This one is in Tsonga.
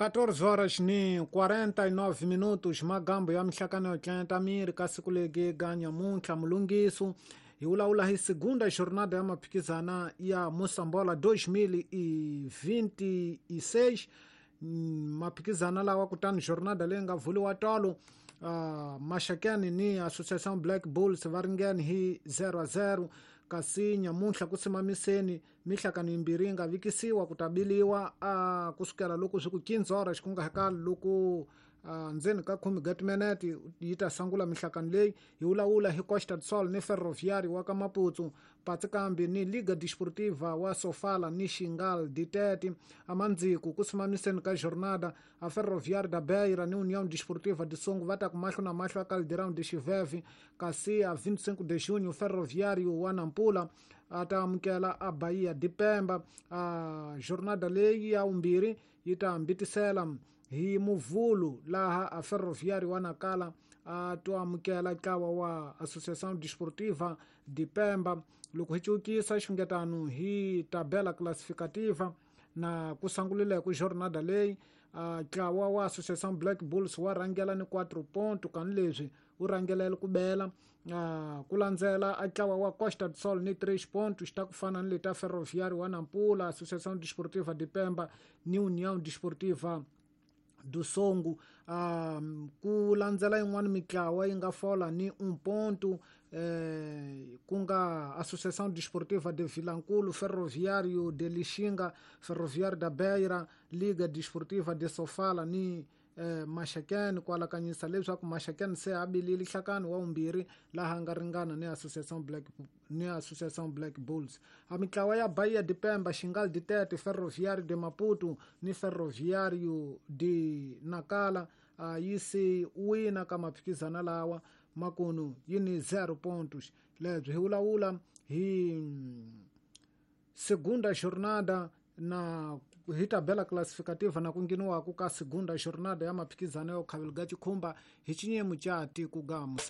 14 horas ni 49 minutos. Magambo ya mihlakano yo tlenta miri ka siku legi ga nyamuntlha mulungiso hi vulavula hi segunda jornada ya maphikizana ya Mosambola 2026. Maphikizana lawa kutani jornada leyi nga vuliwa tolo, Maxakeni ni Association Black Bulls va ringene hi 0-0, kasi nyamuntlha ku simamiseni mihlakano yimbirhi yi nga vikisiwa ku ta biliwa kusukela loko swi ku 15 horas ku nga hakali loko ndzeni ka khume ga timinete yi ta sangula mihlakano leyi. Hi vulavula hi Costa do Sol ni Ferroviário wa ka Maputo, Patsikambi ni Liga Desportiva wa Sofala ni Xingal Ditete. Amandziku ku simamiseni ka jornada, a Ferroviário da Beira ni União Desportiva de Songo va ta ku mahlo na mahlo a Caldeirão de Xiveve, kasi a 25 de junho Ferroviário wa Nampula a ta amukela a Bahia de Pemba. A jornada leyi ya vumbirhi yi ta hambitisela hi Muvhulu, laha a Ferroviário wa Nakala a to amukela ntlawa wa Associação Desportiva de Pemba. Loko hi cukisa xungetano hi tabela classificativa na ku sangulile ku jornada leyi, ntlawa wa Associação Black Bulls wa rhangela ni 4 ponto, kani leswi wu rhangelela ku bela, ku landzela a ntlawa wa Costa do Sol ni 3 pontos, ta ku fana ni leta Ferroviário wa Nampula, Associação Desportiva de Pemba ni União Desportiva do Songo. Ku landzela yin'wana mitlawa yi nga fola ni 1 ponto, ku nga Associação Desportiva de Vilankulo, Ferroviário de Lixinga, Ferroviário da Beira, Liga Desportiva de Sofala ni Maxakeni, ku alakanyisa leswaku Maxakeni se a bilile nhlakano wa vumbirhi laha a nga ringana ni Associação Black, ni Associação Black Bulls. A mitlawa ya Bahia de Pemba, Xingal de Tete, Ferroviário de Maputo ni Ferroviário de Nakala a yi se wina ka maphikizana lawa, makunu yi ni 0 pontos. Lebyi hi vulavula hi segunda jornada na hi tabela classificativa na ku ngheniwaku ka segunda jornada ya maphikizano ya khavelo ga chikhumba hi chinyemu cha tiko ga Moçambique.